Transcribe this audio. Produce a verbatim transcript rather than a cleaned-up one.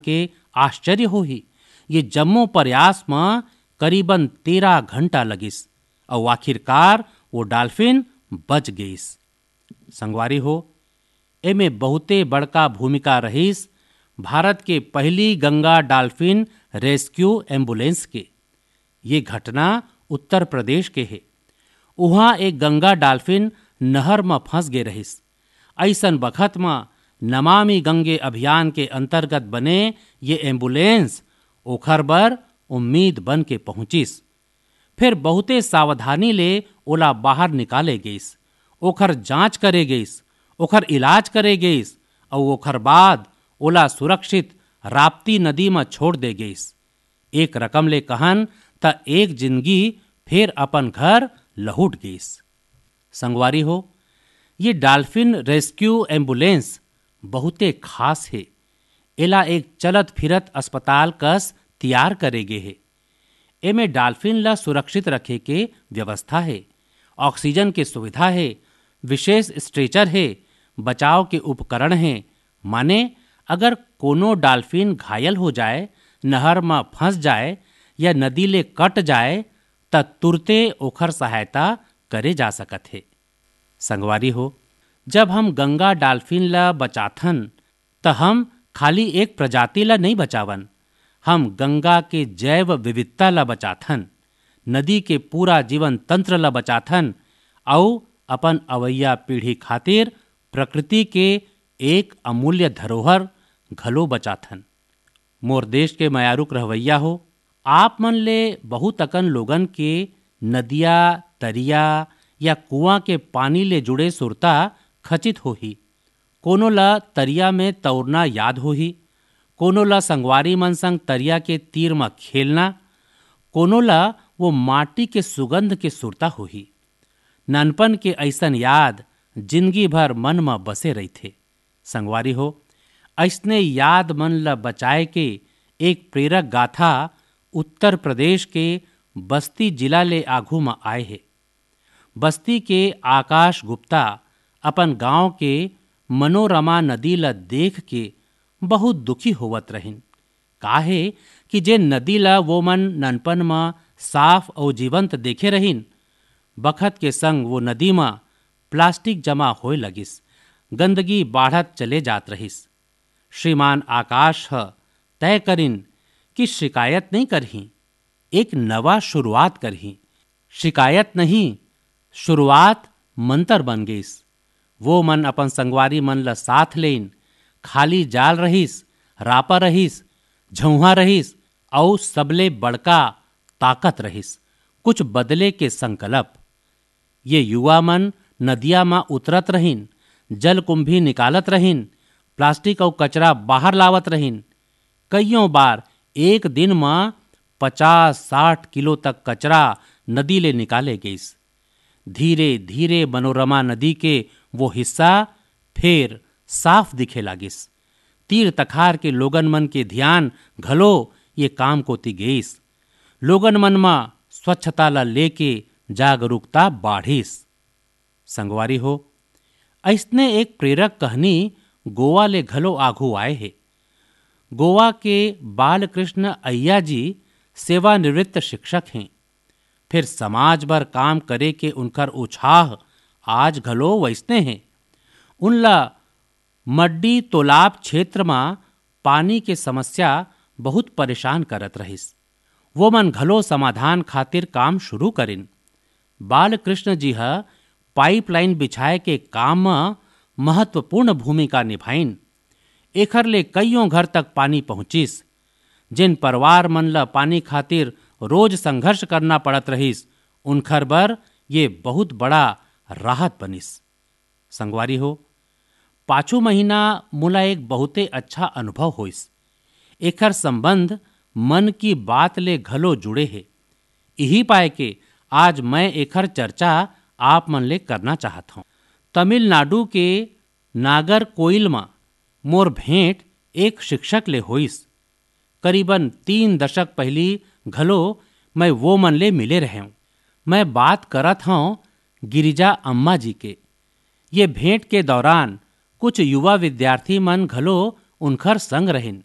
के आश्चर्य होही। ये जम्मो प्रयास म करीबन तेरह घंटा लगिस, अउ आखिरकार वो डाल्फिन बच गईस। संगवारी हो, एमे बहुते बड़का भूमिका रहिस भारत के पहली गंगा डाल्फिन रेस्क्यू एम्बुलेंस के। ये घटना उत्तर प्रदेश के हे। उहाँ एक गंगा डाल्फिन नहर म फंस गे रहिस। अइसन बखत म नमामि गंगे अभियान के अंतर्गत बने ये एम्बुलेंस ओखर बर उम्मीद बन के पहुंचिस। फिर बहुते सावधानी ले ओला बाहर निकाले गइस, ओखर जांच करे गइस, ओखर इलाज करे गइस, अउ ओखर बाद ओला सुरक्षित राप्ती नदी म छोड़ दे गइस। एक रकम ले कहन, त एक जिंदगी फेर अपन घर लहुट गइस। संगवारी हो, ये डाल्फिन रेस्क्यू एम्बुलेंस बहुते खास हे। एला एक चलत फिरत अस्पताल कस तियार करे गे हे। एमे डाल्फिन ला सुरक्षित रखे के व्यवस्था हे, ऑक्सीजन के सुविधा हे, विशेष स्ट्रेचर हे, बचाव के उपकरण हे। माने, अगर कोनो डाल्फिन घायल हो जाए, नहर म फंस जाए या नदी ले कट जाए, त तुरते ओखर सहायता करे जा सकत हे। संगवारी हो, जब हम गंगा डाल्फिन ला बचाथन, त हम खाली एक प्रजाति ला नइ बचावन, हम गंगा के जैव विविधता ला बचाथन, नदी के पूरा जीवन तंत्र ला बचाथन, अउ अपन अवइया पीढ़ी खातिर प्रकृति के एक अमूल्य धरोहर घलो बचाथन। मोर देश के मयारुक रहवइया हो, आप मन ले बहुत अकन लोगन के नदिया, तरिया या कुआं के पानी ले जुड़े सुरता खचित होही। कोनो ला तरिया में तौरना याद होही, कोनो ला संगवारी मन संग तरिया के तीर म खेलना, कोनो ला वो माटी के सुगंध के सुरता होही। ननपन के अइसन याद जिंदगी भर मन म बसे रहिथे। संगवारी हो, अइसने याद मन ल बचाए के एक प्रेरक गाथा उत्तर प्रदेश के बस्ती जिला ले आघू म आए हे। बस्ती के आकाश गुप्ता अपन गांव के मनोरमा नदी ल देख के बहुत दुखी होवत रहिन। काहे कि जे नदी ल वो मन ननपन म साफ अउ जीवंत देखे रहिन, बखत के संग वो नदी म प्लास्टिक जमा होए लगिस, गंदगी बाढ़त चले जात रहिस। श्रीमान आकाश ह तय करिन कि शिकायत नइ करही, एक नवा शुरुआत करही। शिकायत नहीं, शुरुआत मंतर बन गइस। वो मन अपन संगवारी मन ल साथ लेइन। खाली जाल रहिस, रापा रहिस, झउहा रहिस, अउ सबले बड़का ताकत रहिस, कुछ बदले के संकल्प। ये युवा मन नदिया म उतरत रहिन, जलकुंभी निकालत रहिन, प्लास्टिक अउ कचरा बाहर लावत रहिन। कइयों बार एक दिन म पचास साठ किलो तक कचरा नदी ले निकाले गइस। धीरे-धीरे मनोरमा नदी के वो हिस्सा फेर साफ दिखे लागिस। तीर तखार के लोगन मन के ध्यान घलो ये काम कोति गइस। लोगन मन म स्वच्छता ल लेके जागरूकता बाढ़िस। संगवारी हो, अइसने एक प्रेरक कहनी गोवा ले घलो आघू आए हे। गोवा के बालकृष्ण अय्या जी सेवानिवृत्त शिक्षक हें। फिर समाज बर काम करे के उनकर उछाह आज घलो वइसने हे। उनला मड्डी तोलाब क्षेत्र म पानी के समस्या बहुत परेशान करत रहिस। वो मन घलो समाधान खातिर काम शुरू करिन। बालकृष्ण जी ह पाइपलाइन बिछाए के काम म महत्वपूर्ण भूमिका निभाइन। एखर ले कइयों घर तक पानी पहुंचिस। जिन परिवार मन ल पानी खातिर रोज संघर्ष करना पड़त रहिस, उनखर बर ये बहुत बड़ा राहत बनिस। संगवारी हो, पाछू महीना मोला एक बहुते अच्छा अनुभव होइस। एखर संबंध मन की बात ले घलो जुड़े हे। इही पाए के आज मैं एखर चर्चा आप मन ले करना चाहत हौं। तमिलनाडु के नागरकोइल म मोर भेंट एक शिक्षक ले होइस। करीबन तीन दशक पहिली घलो मैं वो मन ले मिले रहेंव। मैं बात करत हौं गिरिजा अम्मा जी के। ये भेंट के दौरान कुछ युवा विद्यार्थी मन घलो उनखर संग रहिन।